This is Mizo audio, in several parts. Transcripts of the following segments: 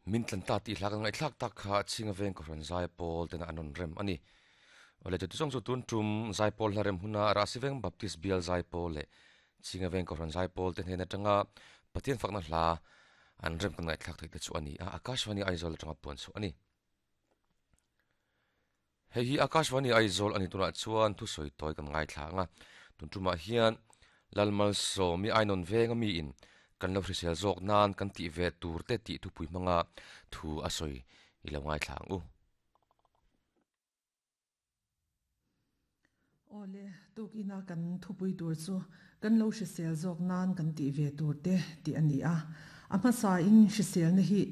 Min tlan ta tih hla kan ngaihthlak tak kha Chhinga veng Kohhran Zaipawl tena an rawn rem a ni. Awle chuti zawng chu tun tum Zaipawl hla rem huna Rahsiveng Baptist Bial Zaipawl leh Chhinga veng Kohhran Zaipawl te hnen atanga Pathian fakna hla an rem kan ngaihthlak theih te chu a ni a, Akashvani Aizawl atanga puan chhuah a ni. Hei hi Akashvani Aizawl a ni tunah chuan thusawi tawi kan ngaithla ang a, tun tumah hian Lalmalsawmi Ainawn venga miin kan lo hrisel zawk nan kan tih ve tur te tih thupui hmanga thu a sawi i lo ngaithla ang u. Awle, tukina kan thupui tur chu kan lo hrisel zawk nan kan tih ve tur te tih a ni a. A hmasain hriselna hi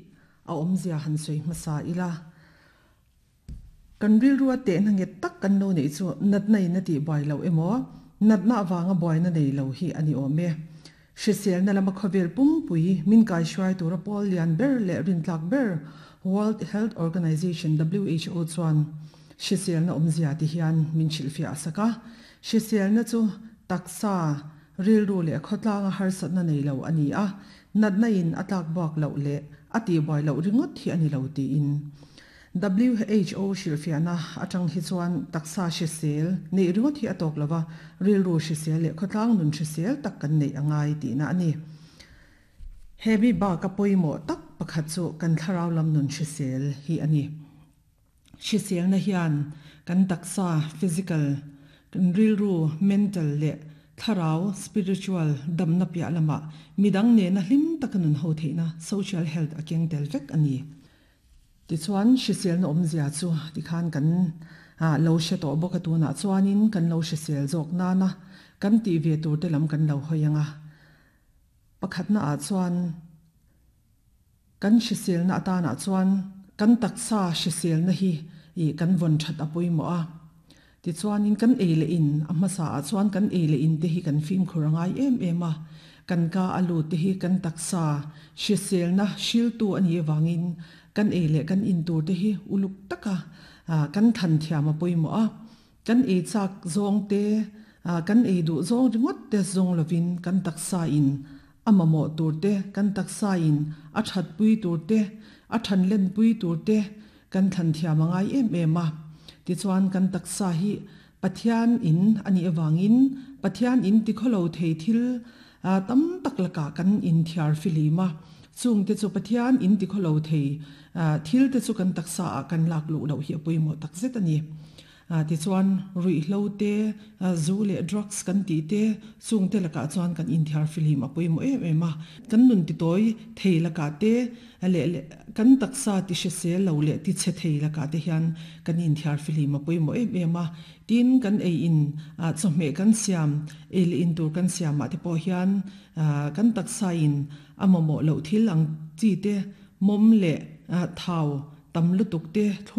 a awmzia han sawi hmasa ila. Kan rilrua tehna nget tak kan lo neih chu natna in a tih buai loh emaw, natna avanga buaina nei lo hi a ni awm e. Hriselna lama khawvel pumpui min kaihruai tura pawl lian ber leh rintlak ber World Health Organization, who, chuan hriselna awmzia ti hian min hrilhfiah a sak a. Hriselna chu taksa, rilru leh khawtlanga harsatna nei lo a ni a, natna in a tlakbuak loh leh a tihbuai loh ringawt hi a ni lo tiin. WHO hrilhfiahna atang hi chuan taksa hrisel neih ringawt hi a tawk lo va, rilru hrisel leh khawtlang nun hrisel tak kan neih a ngai tihna a ni. He mi baka pawimawh tak pakhat chu kan thlarau lam nun hrisel hi a ni. Hriselna hian kan taksa, physical, kan rilru, mental, leh thlarau, spiritual, damna piah lamah midang nena hlim taka nun ho theihna, social health, a keng tel vek a ni. Tichuan, hriselna awmzia chu tikhan kan lo hre tawh bawk a, tunah chuanin kan lo hrisel zawk nana kan tih ve tur te lam kan lo hawi ang a. Pakhatna ah chuan kan hriselna atanah chuan kan taksa hriselna hi kan vawn that a pawimawh a. Tichuanin kan ei leh in, a hmasa ah chuan kan ei leh in te hi kan fimkhur a ngai em em a, kan ka a lut te hi kan taksa hriselna hriltu a nih avangin kan ei leh kan in tur te hi uluk taka kan thlan thiam a pawimawh a, kan ei chak zawng te, kan ei duh zawng ringawt te zawng lovin kan taksa in a mamawh tur te, kan taksa in a thatpui tur te, a thanlenpui tur te Kan thlan thiam a ngai em em a, tichuan kan taksa hi Pathian in a nih avangin Pathian in tikhawlo thei thil tam tak lakah kan inthiar fihlim a, chungte chu Pathian in tikhawlo thei thil te chu kan taksa ah kan lak luh loh hi a pawimawh takzet a ni. Tichuan, ruihhlo te, zu leh drugs kan tih te, chung te lakah chuan kan inthiar fihlim a pawimawh em em a. Kan nun titawi thei lakah te leh leh kan taksa ti hrisel lo leh ti chhe thei lakah te hian kan inthiar fihlim a pawimawh em em a. Tin, kan ei in chawhmeh kan siam, ei leh in tur kan siamah te pawh hian kan taksa in a mamawh loh thil ang chi te, mawm leh thau tam lutuk te thlum.